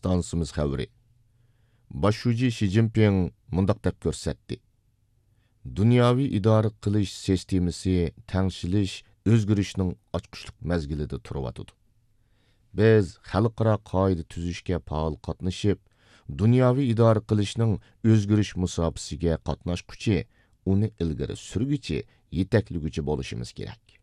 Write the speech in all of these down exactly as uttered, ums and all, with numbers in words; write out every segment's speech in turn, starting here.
ئىستانسىمىز خەۋىرى. باش شۇجى شى جىنپىڭ مۇنداق دەپ كۆرسەتتى: دۇنياۋى ئىدارە قىلىش سىستېمىسى تەڭشىلىش، ئۆزگىرىشنىڭ ئاچقۇچلۇق مەزگىلىدە تۇرۇۋاتىدۇ. بىز خەلقئارا قائىدە تۈزۈشكە پائال قاتنىشىپ، دۇنياۋى ئىدارە قىلىشنىڭ ئۆزگىرىش مۇساپىسىگە قاتناشقۇچى، ئۇنى ئىلگىرى سۈرگۈچى، يېتەكلىگۈچى بولۇشىمىز كېرەك.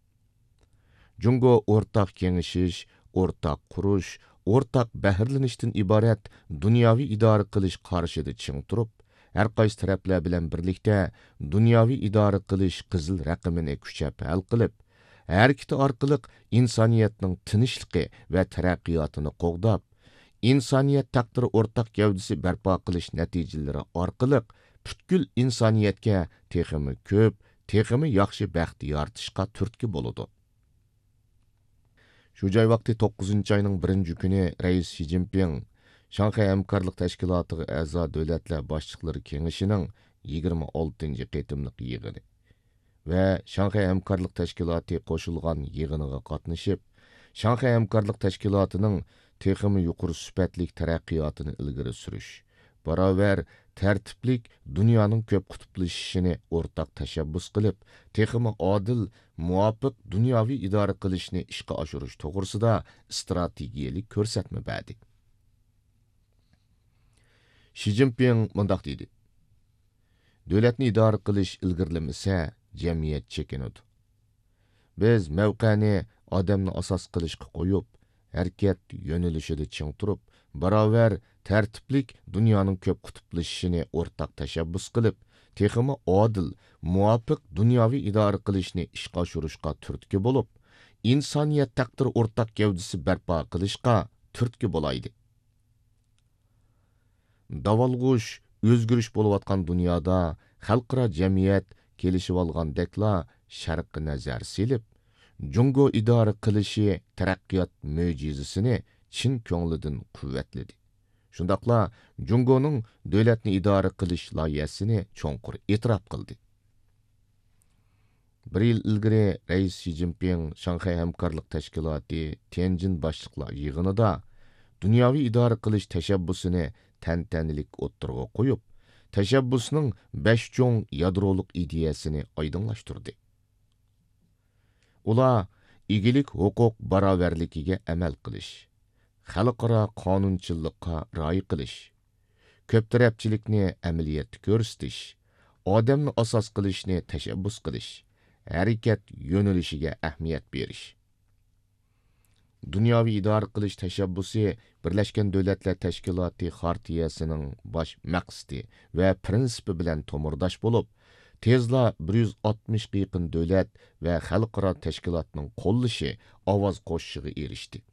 جۇڭگو ئورتاق كېڭىشىش، ئورتاق قۇرۇش، ئورتاق بەھرىلىنىشتىن ئىبارەت دۇنياۋى ئىدارە قىلىش قارىشىدا چىڭ تۇرۇپ، ھەر قايسى تەرەپلەر بىلەن بىرلىكتە دۇنياۋى ئىدارە قىلىش قىزىل رەقىمىنى كۈچەپ ھەل قىلىپ، ھەرىكىتى ئارقىلىق ئىنسانىيەتنىڭ تىنچلىقى ۋە تەرەققىياتىنى قوغداپ، ئىنسانىيەت تەقدىرى ئورتاق گەۋدىسى بەرپا قىلىش نەتىجىلىرى ئارقىلىق پۈتكۈل ئىنسانىيەتكە تېخىمۇ كۆپ، تېخىمۇ ياخشى بەخت يارىتىشقا تۈرتكە بولىدۇ. شۇ جاي ۋاقتى توققۇزىنچى ئاينىڭ بىرىنچى كۈنى رەئىس شى جىنپىڭ شاڭخەي ھەمكارلىق تەشكىلاتىغا ئەزا دۆلەتلەر باشلىقلىرى كېڭىشىنىڭ يىگىرمە ئالتىنچى قېتىملىق يىغىنى ۋە شاڭخەي ھەمكارلىق تەشكىلاتى قوشۇلغان يىغىنىغا قاتنىشىپ، شاڭخەي ھەمكارلىق تەشكىلاتىنىڭ تېخىمۇ يۇقىرى سۈپەتلىك تەرەققىياتىنى ئىلگىرى سۈرۈش، باراۋەر، تەرتىپلىك دۇنيانىڭ كۆپ قۇتۇپلىشىشىنى ئورتاق تەشەببۇس قىلىپ، تېخىمۇ ئادىل، مۇۋاپىق دۇنياۋى ئىدارە قىلىشنى ئىشقا ئاشۇرۇش توغرىسىدا ئىستراتېگىيەلىك كۆرسەتمە بەردى. شى جىنپىڭ مۇنداق دېدى: دۆلەتنى ئىدارە قىلىش ئىلگىرىلىمىسە، جەمئىيەت چېكىنىدۇ. بىز مەۋقەنى ئادەمنى ئاساس قىلىشقا قويۇپ، ھەرىكەت يۆنىلىشىدە چىڭ تۇرۇپ، باراۋەر، تەرتىپلىك دۇنيانىڭ كۆپ قۇتۇپلىشىشىنى ئورتاق تەشەببۇس قىلىپ، تېخىمۇ ئادىل، مۇۋاپىق دۇنياۋى ئىدارە قىلىشنى ئىشقا ئاشۇرۇشقا تۈرتكە بولۇپ، ئىنسانىيەت تەقدىرى ئورتاق گەۋدىسى بەرپا قىلىشقا تۈرتكە بولايلى. داۋالغۇش، ئۆزگىرىش بولۇۋاتقان دۇنيادا خەلقئارا جەمئىيەت كېلىشىۋالغاندەكلا شەرققە نەزەر سېلىپ، جۇڭگو ئىدارە قىلىشى تەرەققىيات مۆجىزىسىنى چىن كۆڭلىدىن قۇۋۋەتلىدى. شۇنداقلا جۇڭگونىڭ دۆلەتنى ئىدارە قىلىش لايىھەسىنى چوڭقۇر ئېتىراپ قىلدى. بىر يىل ئىلگىرى رەئىس شى جىنپىڭ شاڭخەي ھەمكارلىق تەشكىلاتى تيەنجىن باشلىقلار يىغىنىدا دۇنياۋى ئىدارە قىلىش تەشەببۇسىنى تەنتەنىلىك ئوتتۇرىغا قويۇپ، تەشەببۇسنىڭ بەش چوڭ يادرولۇق ئىدىيەسىنى ئايدىڭلاشتۇردى. ئۇلار ئىگىلىك ھوقۇق باراۋەرلىكىگە ئەمەل قىلىش، خەلقئارا قانۇنچىللىققا رىئايە قىلىش، كۆپ تەرەپچىلىكنى ئەمەلىيەتتە كۆرسىتىش، ئادەمنى ئاساس قىلىشنى تەشەببۇس قىلىش، ھەرىكەت يۆنىلىشىگە ئەھمىيەت بېرىش. دۇنياۋى ئىدارە قىلىش تەشەببۇسى بىرلەشكەن دۆلەتلەر تەشكىلاتى خارتىيەسىنىڭ باش مەقسىتى ۋە پىرىنسىپى بىلەن تومۇرداش بولۇپ، تېزلا بىر يۈز ئاتمىشقا يېقىن دۆلەت ۋە خەلقئارا تەشكىلاتنىڭ قوللىشى، ئاۋاز قوشۇشىغا ئېرىشتى.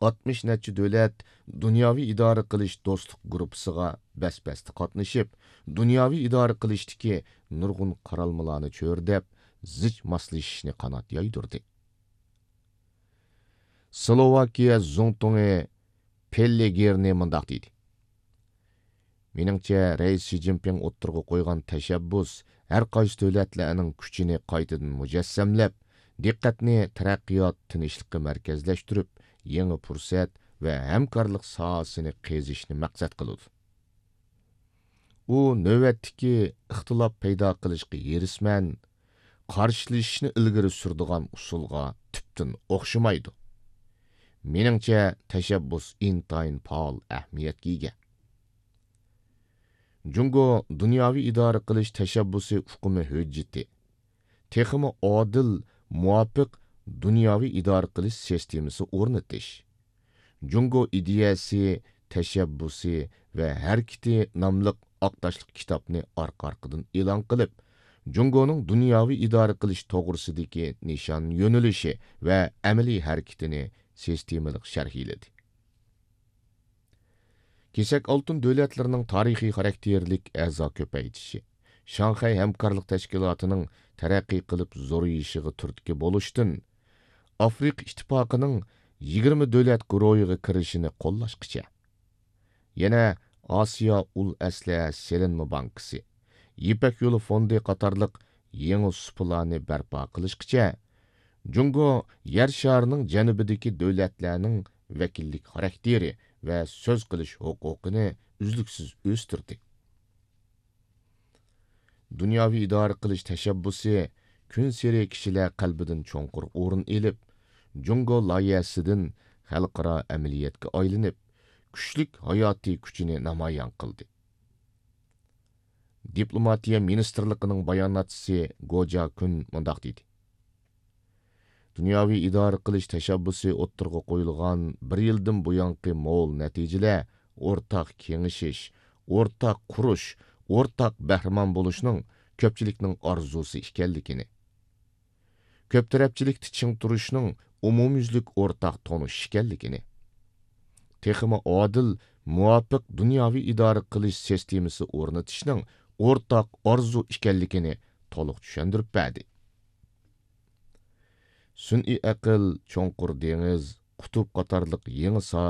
ئاتمىش نەچچە دۆلەت دۇنياۋى ئىدارە قىلىش دوستلۇق گۇرۇپپىسىغا بەس-بەستە قاتنىشىپ، دۇنياۋى ئىدارە قىلىشتىكى نۇرغۇن قارالمىلارنى چۆرىدەپ، زىچ ماسلىشىشنى قانات يايدۇردى. سلوۋاكىيە زۇڭتۇڭى پېللېگېرنى مۇنداق دېدى: مېنىڭچە، رەئىس شى جىنپىڭ ئوتتۇرىغا قويغان تەشەببۇس ھەر قايسى دۆلەتلەرنىڭ كۈچىنى قايتىدىن مۇجەسسەملەپ، دىققەتنى تەرەققىيات، تىنچلىققا مەركەزلەشتۈرۈپ، يېڭى پۇرسەت ۋە ھەمكارلىق ساھەسىنى قېزىشنى مەقسەت قىلىدۇ. ئۇ نۆۋەتتىكى ئىختىلاپ پەيدا قىلىشقا ھېرىسمەن، قارشىلىشىشنى ئىلگىرى سۈرىدىغان ئۇسۇلغا تۈپتىن ئوخشىمايدۇ. مېنىڭچە، تەشەببۇس ئىنتايىن پائال ئەھمىيەتكە ئىگە. جۇڭگو دۇنياۋى ئىدارە قىلىش تەشەببۇسى ئۇقۇمى ھۆججىتى، تېخىمۇ ئادىل، مۇۋاپىق دۇنياۋى ئىدارە قىلىش سىستېمىسى ئورنىتىش، جۇڭگو ئىدىيەسى، تەشەببۇسى ۋە ھەرىكىتى ناملىق ئاق تاشلىق كىتابنى ئارقا-ئارقىدىن ئېلان قىلىپ، جۇڭگونىڭ دۇنياۋى ئىدارە قىلىش توغرىسىدىكى نىشان يۆنىلىشى ۋە ئەمەلىي ھەرىكىتىنى سىستېمىلىق شەرھلىدى. كېسەك ئالتۇن دۆلەتلىرىنىڭ تارىخىي خاراكتېرلىك ئەزا كۆپەيتىشى، شاڭخەي ھەمكارلىق تەشكىلاتىنىڭ تەرەققىي قىلىپ زورىيىشىغا تۈرتكە بولۇشتىن، ئافرىقا ئىتتىپاقىنىڭ يىگىرمە دۆلەت گۇرۇھىغا كىرىشىنى قوللاشقىچە، يەنە ئاسىيا ئۇل ئەسلىھە سېلىنما بانكىسى، يىپەك يولى فوندى قاتارلىق يېڭى سۇپىلارنى بەرپا قىلىشقىچە، جۇڭگو يەر شارىنىڭ جەنۇبىدىكى دۆلەتلەرنىڭ ۋەكىللىك خاراكتېرى ۋە سۆز قىلىش ھوقۇقىنى ئۈزلۈكسىز ئۆستۈردى. دۇنياۋى ئىدارە قىلىش تەشەببۇسى كۈنسېرى كىشىلەر قەلبىدىن چوڭقۇر ئورۇن ئېلىپ، جۇڭگو لايىھەسىدىن خەلقئارا ئەمەلىيەتكە ئايلىنىپ، كۈچلۈك ھاياتىي كۈچىنى نامايان قىلدى. دىپلوماتىيە مىنىستىرلىقىنىڭ باياناتچىسى گو جياكۈن مۇنداق دېدى: دۇنياۋى ئىدارە قىلىش تەشەببۇسى ئوتتۇرىغا قويۇلغان بىر يىلدىن بۇيانقى مول نەتىجىلەر ئورتاق كېڭىشىش، ئورتاق قۇرۇش، ئورتاق بەھرىمەن بولۇشنىڭ كۆپچىلىكنىڭ ئارزۇسى ئىكەنلىكىنى، كۆپ تەرەپچىلىكتە چىڭ تۇرۇشنىڭ ئومۇميۈزلۈك ئورتاق تونۇش ئىكەنلىكىنى، تېخىمۇ ئادىل، مۇۋاپىق دۇنياۋى ئىدارە قىلىش سىستېمىسى ئورنىتىشنىڭ ئورتاق ئارزۇ ئىكەنلىكىنى تولۇق چۈشەندۈرۈپ بەردى. سۈنئىي ئەقىل، چوڭقۇر دېڭىز، قۇتۇپ قاتارلىق يېڭى